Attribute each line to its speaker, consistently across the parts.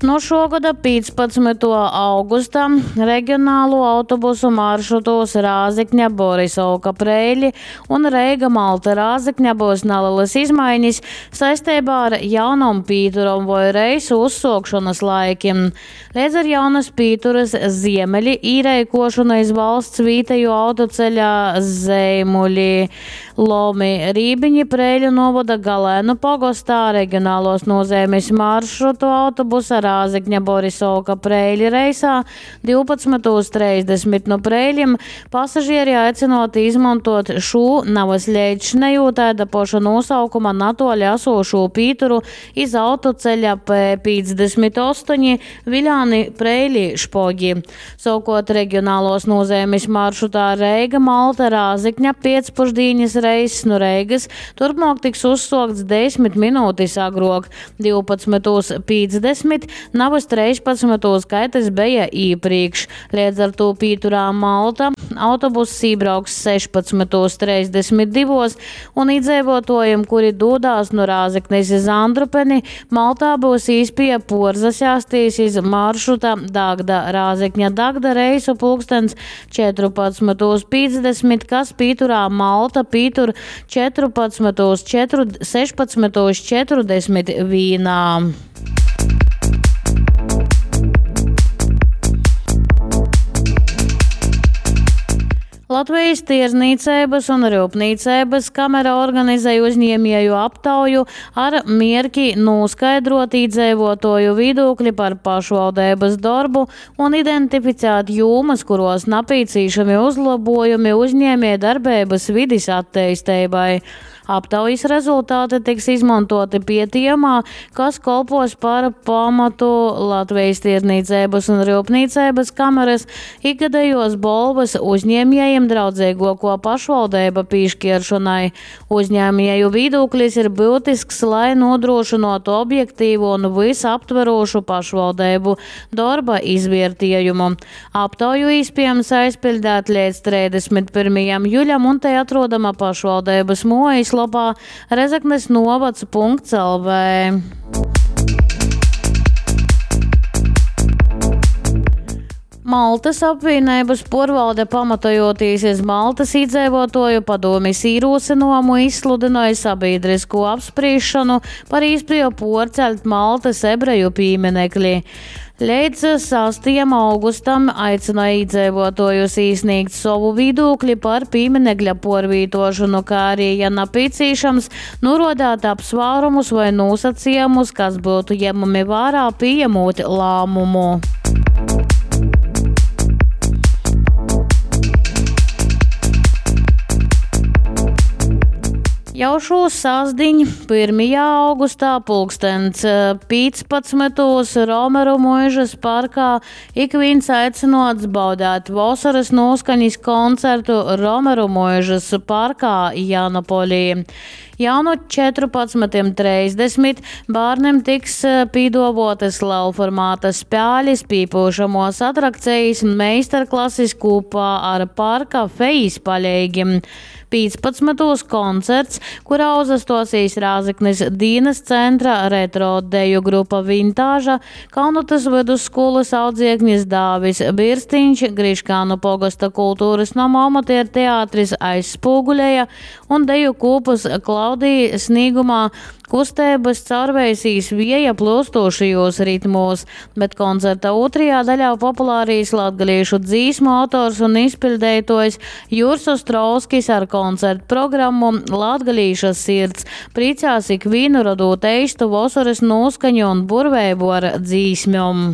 Speaker 1: Nu šuo goda 15. augusta regionalū autobusu maršrutūs Rāzekņa, Borisovka, Preiļi un Reiga, Malta, Rāzekņa byus nalelys izmainis saisteibā ar jaunom pīturom voi reisu uzsuokšonys laikim. Leidz ar jaunys pīturys Ziemeļi īreikuošonu iz valsts vītejuo autoceļa Zeimuļi, Lomi, Rībiņi Preiļu nūvoda Galēnu pogostā regionaluos nūzeimis maršrutu autobusa Rāzekņa, Borisovka, Preiļi reisā 12.30 nu Preiļim pasažieri aicynuoti izmontuot šū navys leidzšinejū taida poša nūsaukuma natuoli asūšū pīturu iz autoceļa P58 Viļāni, Preiļi, Špogi. Sovukuort regionaluos nūzeimis maršrutā Reiga, Malta, Rāzekņa piecpušdīnis reiss nu Reigys turpmuok tiks uzsuokts desmit minūtis agruok, 12.50, navys treispadsmytūs, kai tys beja īprīkš. Leidz ar tū pīturā Malta autobuss ībrauks 16.32 un īdzeivuotuojim, kuri dūdās nu Rāzeknis iz Andrupeni, Maltā byus īspieja puorzasēstīs iz maršruta Dagda, Rāzekņa, Dagda reisu pulkstens 14.50, kas pīturā Malta pītur 14. 16.41. Latvejis Tierdznīceibys un ryupnīceibys kamera organizej uzņiemieju aptauju ar mierki nūskaidruot īdzeivuotuoju vīdūkli par pašvaldeibys dorbu un identificēt jūmys, kuruos napīcīšami uzlobuojumi uzņiemiejdarbeibys vidis atteisteibai. Aptaujis rezultati tiks izmontuoti pietejumā, kas kolpuos par pamatu Latvejis Tierdznīceibys un ryupnīceibys kamerys ikgadejuos bolvys Uzņiemiejim draudzeiguokuo pašvaldeiba pīškieršonai. Uzņēmieju vīdūklis ir byutisks, lai nūdrūšynuotu objektīvu un vysaptverūšu pašvaldeibu dorba izviertiejumu. Aptauju īspiejams aizpiļdēt leidz 31. juļam un tei atrodama pašvaldeibys muojislopā Rezeknes novads.lv. Maltys apvīneibys puorvalde, pamatojūtīs iz Maltys īdzeivuotuoju padūmis īrūsynuojumu, izsludynoj sabīdryskū apsprīsšonu par īspieju puorceļt Maltys ebreju pīminekli. Leidz sastajam augustam aicynoj īdzeivuotuojus īsnīgt sovu vīdūkli par pīminekļa puorvītuošonu, kā ari, ja napīcīšams, nūruodeit apsvārumus voi nūsacejumus, kas byutu jemami vārā, pījemūt lāmumu. Jau šū sastdiņ, pyrmajā augustā, pulkstens 15. Romeru muižys parkā ikvīns aicynuots baudeit vosorys nūskanis koncertu Romeru muižys parkā Janopolī. Jau nu 14.30 bārnim tiks pīduovuotys lelformata spēlis, pīpyušamuos atrakcejis, meistarklasis kūpā ar parka fejis paleigim. Pīcpadsmytūs koncerts, kurā uzastuosīs Rāzeknis dīnys centra retro deju grupa Vintāža, Kaunatys vydusskūlys audzieknis Dāvis Birstiņš, Griškānu pogosta kulturys noma amatierteatris Aizspūguleja un deju kūpys Klaudija snīgumā kusteibys caurveisīs vieja plyustūšajūs ritmūs, bet koncerta ūtrajā daļā populārīs latgalīšu dzīsmu autors un izpiļdeituojs Jurs Ostrovskis ar koncertprogrammu Latgalīša sirds priecās ikvīnu, rodūt eistu vosorys nūskaņu un burveibu ar dzīsmem.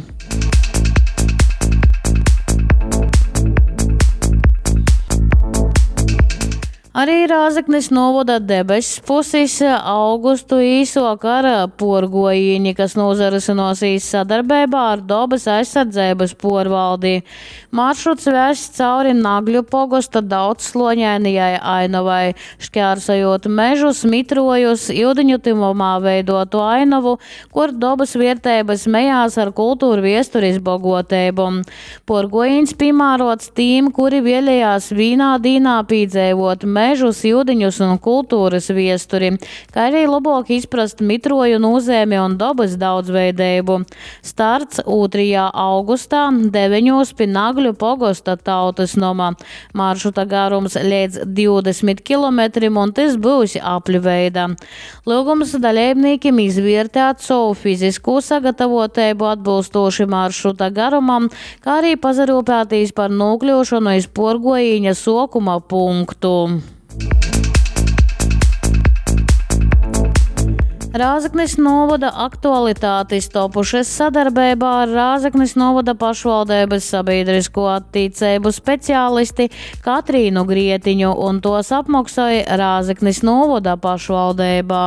Speaker 1: Ari Rāzeknis nūvoda debess pusis augustu īsuok ar puorguojīni, kas nūsarysynuosīs sadarbeibā ar Dobys aizsardzeibys puorvaldi. Maršruts vess cauri Nagļu pogosta daudzsluoņainajai ainovai, škārsojūt mežus, mitruojus, iudiņu tyvumā veiduotu ainovu, kur dobys vierteibys mejās ar kulturviesturis boguoteibom. Puorguojīņs pīmāruots tīm, kuri vielejās vīnā dīnā pīdzeivuot mežu, mežus, iudiņus un kulturys viesturi, kai ari lobuok izprast mitruoju nūzeimi un dobys daudzveideibu. Starts ūtrajā augustā, deveņūs pi Nagļu pogosta tautysnoma. Maršruta garums leidz 20 kilometrim un tys byus apļveida. Lyugums daleibnīkim izviertēt sovu fiziskū sagatavoteibu atbylstūši maršruta garumam, kā arī pasaryupētīs par nūkļyušonu iz puorguojīņa suokuma punktu. Rāzeknis nūvoda aktualitātis topušys sadarbeibā ar Rāzeknis nūvoda pašvaldeibys sabīdrisko attīceibu speciālisti Katrīnu Grietiņu un tuos apmoksoj Rāzeknis nūvoda pašvaldeiba.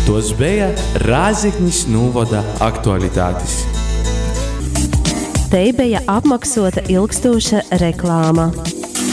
Speaker 2: Tuos beja Rāzeknis nūvoda aktualitatis.
Speaker 3: Tei beja apmoksuota ilgstūša reklāma.